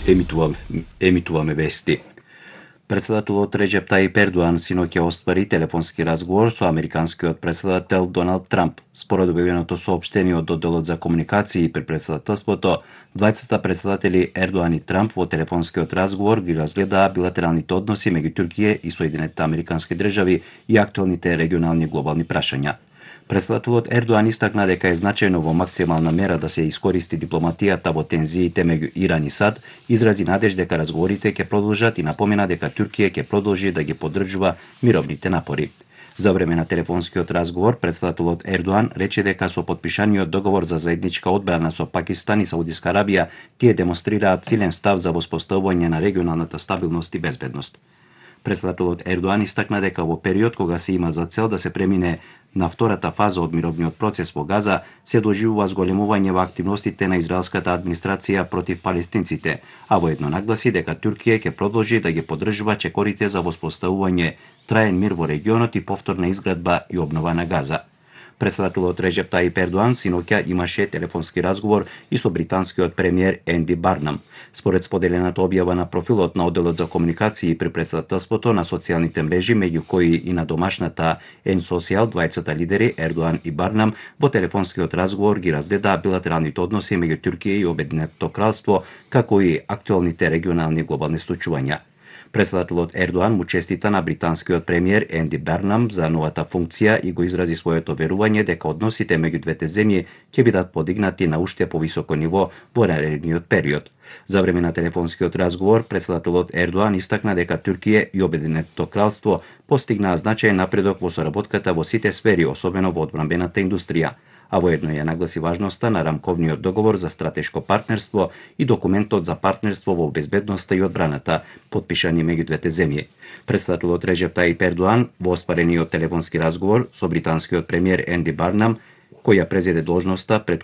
Емитуваме вести. Председателот Реџеп Тајип Ердоан синоќа оствари телефонски разговор со американскиот председател Доналд Трамп. Според објавеното соопштение од одделот за комуникации при председателството, двајцата председатели Ердоан и Трамп во телефонскиот разговор ги разгледаа билатералните односи меѓу Туркија и Соединетите американски држави и актуелните регионални и глобални прашања. Председателот Ердоан истакна дека е значајно во максимална мера да се искористи дипломатијата во тензиите меѓу Иран и САД, изрази надеж дека разговорите ќе продолжат и напомена дека Туркија ќе продолжи да ги поддржува мировните напори. За време на телефонскиот разговор, председателот Ердоан рече дека со потпишаниот договор за заедничка одбрана со Пакистан и Саудиска Арабија, тие демонстрираат силен став за воспоставување на регионалната стабилност и безбедност. Председателот Ердоан истакна дека во период кога се има за цел да се премине на втората фаза од мировниот процес во Газа, се доживува зголемување во активностите на израелската администрација против палестинците, а воедно нагласи дека Туркија ќе продолжи да ги поддржува чекорите за воспоставување траен мир во регионот и повторна изградба и обнова на Газа. Председателот Реџеп Тајип Ердоан синоќа имаше телефонски разговор и со британскиот премиер Енди Барнам. Според споделената објава на профилот на одделот за комуникации при председателството на социјалните мрежи, меѓу кои и на домашната N-Social, двајцата лидери Ердоан и Барнам во телефонскиот разговор ги разгледаа билатералните односи меѓу Туркија и Обединетото кралство, како и актуелните регионални и глобални случувања. Председателот Ердоан му честита на британскиот премиер Енди Барнам за новата функција и го изрази своето верување дека односите меѓу двете земји ќе бидат подигнати на уште повисоко ниво во наредниот период. За време на телефонскиот разговор, председателот Ердоан истакна дека Туркија и Обединетото кралство постигнаа значајен напредок во соработката во сите сфери, особено во одбранбената индустрија, а воедно ја нагласи важноста на рамковниот договор за стратешко партнерство и документот за партнерство во безбедноста и одбраната, потпишани меѓу двете земји. Председателот Реџеп Тајип Ердоан во оспарениот телефонски разговор со британскиот премиер Енди Барнам, кој ја презеде должноста пред